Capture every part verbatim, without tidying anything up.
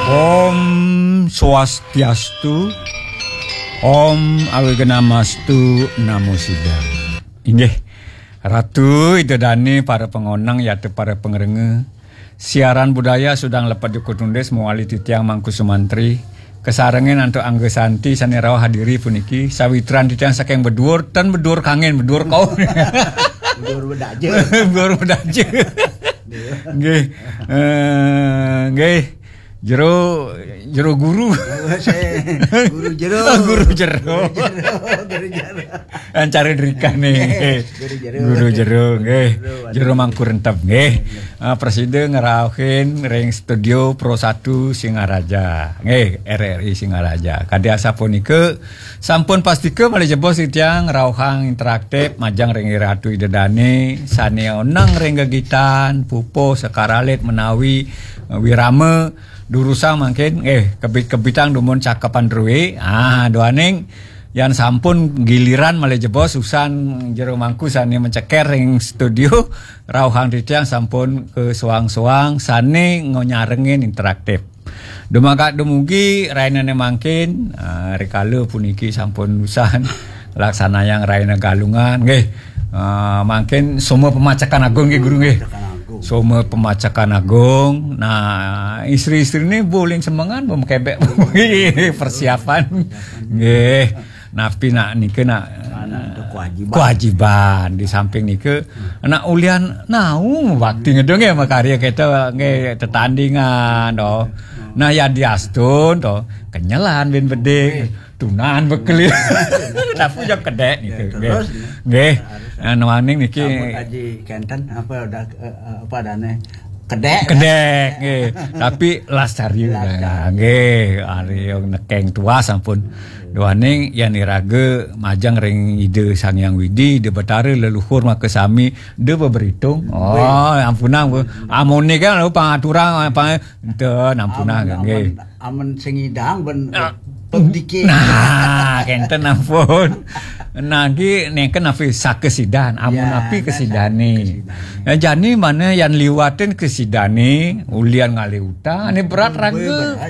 Om Swastiastu, Om Awignamastu Namo Sidam. Inggih, Ratu, Ida Dane, para pangonang, yata para pangrengga. Siaran budaya Sudang Lepet Jukut Nundis mawali titiang Mangku Sumantri. Kasarengin antuk Angga Santi sane rauh hadiri puniki, sawitran titiang saking Beduur, ten Beduur Kangen, Beduur Kaur. Beduur Bedaja. Beduur Bedaja. Nggih. Eh, nggih. Jero, jero guru. Guru jero. Guru jero. Guru jero. Guru jero. Ancara drikane. Guru jero. Guru jero, nggih. Jero, jero Mangku Rentep, nggih. Ah, prasida ngrauhin ring studio Pro Satu Singaraja. Nggih, R R I Singaraja. Kadi asapunika, sampun pastika malih jebos titiang ngrauhang interaktif majeng ring Ratu Ida Dane sane oneng ring gegitan, pupuh, sekar alit menawi, eh, wirama, durusang mangkin, eh, kebit-kebitang dumun cakepan drue. Ah, duaning yan sampun giliran malih jebos usan jero mangku sane menceker ring studio, rauhang titiang sampun kasoang-soang sane ngonyarengin interaktif. Dumadak dumugi rainane mangkin, ah, rikala puniki sampun usan laksanayang raina Galungan, nggih. Ah, mangkin Soma Pemacekan Agung, nggih, Guru, nggih. Pemacekan Agung. Soma Pemacekan Agung. Nah, istri-istrine buling semengan, bum kebek persiapan. Nggih. Napi nak nika nak, anak tu kewajiban. Kewajiban. Di samping nika, nak ulian nau bakti ngedung ya makarya kita nggih tetandingan to. Nah, ya diastun to, kenyelan bin bedik, tunan bekelir. Tapi jam kedek nika. Ya, nggih. Terus, nggih. Nah, nuaning niki. Sambut Haji Kenten apa dah, eh, eh, apa dane? Kedek. Kedek, nggih. Tapi las carya. Las carya. Nggih, ari nekeng tuas sampun. Duaning yan iraga majeng ring Ida Sang Hyang Widi, Ida Betara leluhur makasami, da beberitung. Oh, ampunang, Bu. Amune kan lalu pangaturang, pang-, enten ampunang, amun, nggih. Amun, amun sing idang ben, ah, pegdike. Nah, kenten ampun. Nah, nggih neken napi sakesidan, amun ya, napi kesidane. Kesidane. Ya, jani mana yan liwatin kesidane, ulian ngalih utang, ane berat raga.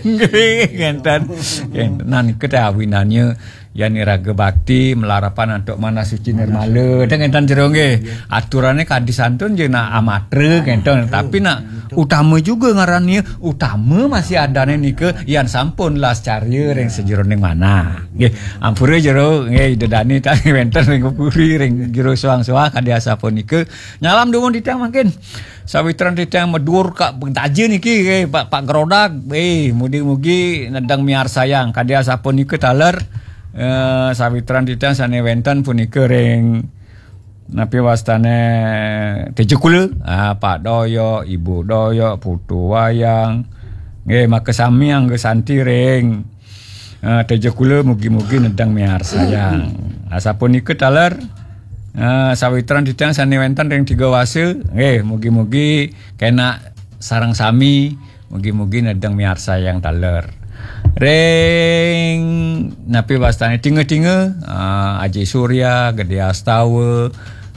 Nggih, kenten. Kenten. Nah, nika teh awinannya yan iraga bakti, malarapan antuk manah suci nirmala. Teh kenten jero nggih. Aturane kadi santun je nak amatra kenten, tapi nak utama juga ngarannya, utama masih adane nika yan sampun las carya ring sajeroning manah. Nggih, ampura jero nggih Ida Dane tadi wenten ring puri ring jero soang-soang kadi asapunika. Nyalam dumun titiang mangkin. Sawitran titiang Meduur ka Bentaja niki, eh, Pak, Pak Gerodak, eh, mugi-mugi nedeng miarsayang. Kadi asapunika taler, eh, sawitran titiang sane wenten punika ring napi wastane Tejukula, ah, Pak Doyok, Ibu Doyok, Putu Wayang. Nggih, makasami Angga Santi ring Ah, Teja Kula mugi-mugi nedeng miarsayang. Asapunika taler, ah, sawitran titiang sane wenten ring tiga wasa, nggih, mugi-mugi kena sareng sami, mugi-mugi nedeng miarsayang taler. Ring napi wastane tinga-tinga, ah, Aji Surya, Gede Astawa,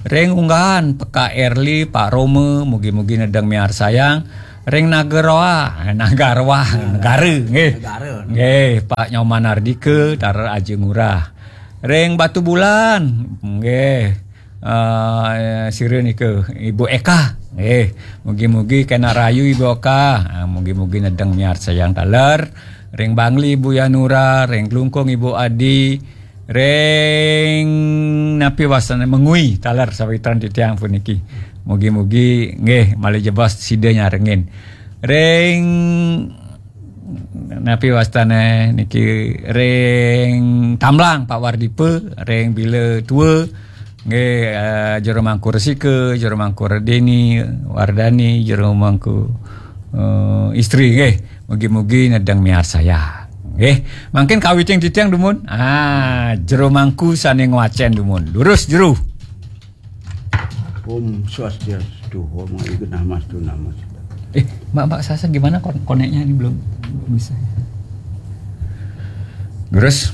ring unggahan Peka Erli, Pak Roma, mugi-mugi nedeng miarsayang. Ring Nagaroa, eh, Nagaroa, negara, nggih. Negara. Nggih, Pak Nyoman Ardika, taler Aji Ngurah. Ring Batubulan, nggih. Eh, sira nika, Ibu Eka, nggih. Mugi-mugi kena rayu Ibu Eka. Ah, mugi-mugi nedeng miarsayang taler. Ring Bangli Ibu Yanura, ring Klungkung Ibu Adi, ring napi wastane Mengwi taler sawitran titiang puniki. Mugi-mugi nggih malih jebos sida nyarengin. Ring napi wastane niki ring Tamblang Pak Wardipa, ring Bila Tua, nggih, eh, Jero Mangku Resika, Jero Mangku Redeni, Wardani, Jero Mangku, eh, Istri, nggih. Mugi-mugi nedeng miarsayang. Nggih, mangkin kawitin titiang dumun. Ah, Jero Mangku sane ngwacen dumun. Durus, Jero. Om Swastiastu, Om Awignamastu Namo Sidam. Eh, Mbak, Mbak Sasa gimana kon-, koneknya ini belum, belum bisa. Durus.